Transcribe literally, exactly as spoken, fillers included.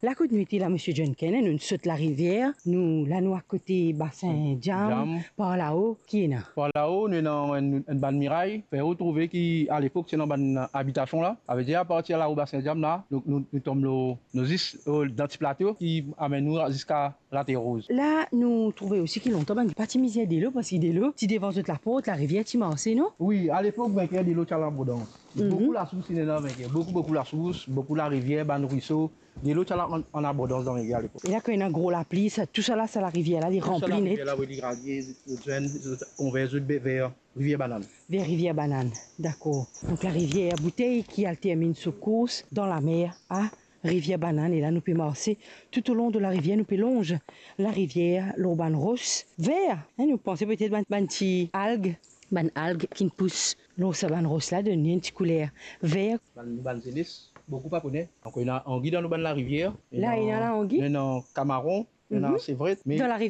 La kot nou ete la, Misie John Ken, nou sot larivier, nou la nou akote Basin Diam. Diam. Par lao, ki ena? Par lao, nou ena enn, enn bann miray, fer ou trouve ki alepok ti ena bann abitasion la. Savedir, apartir lao Basin Diam la, nou, nou, nou tom lor, nou zis, eh, dan ti plato ki amenn nou ziska Later Roz. La, nou trouve osi ki lontan bann pa ti mizer delo, parski delo ti devan zot laport, larivier ti marse, non? Wi, alepok, Vinker, delo ti al an abondans. Mhm. Boukou lasours inn ena Vinker, boukou, boukou lasours, boukou larivier, bann rwiso, delo ti al an, an abondans dan Vinker alepok. E la, kan ena gro lapli, sa, tousala, sa larivier la, li ranpli net. Tousala, larivier la, wi, li ranpli, zot, zot, zot konvert zot be-, ver Rivier Banann. Ver Rivier Banann, dakor. Donk, larivier Boutey ki al terminn so kours dan lamer a Rivier Banann, e la nou pe marse toutolong de larivier, nou pe lonz larivier lor bann ros ver, hein, nou panse petet bann, bann ti alg, bann alg ki pous lor sa bann ros la, donn li enn ti kouler ver. Bann, bann zenes, boukou pa kone. Donk, ena angi dan nou bann larivier. La, ena, ena angi? Ena kamaron, ena, mhm, sevret, me dan larivier.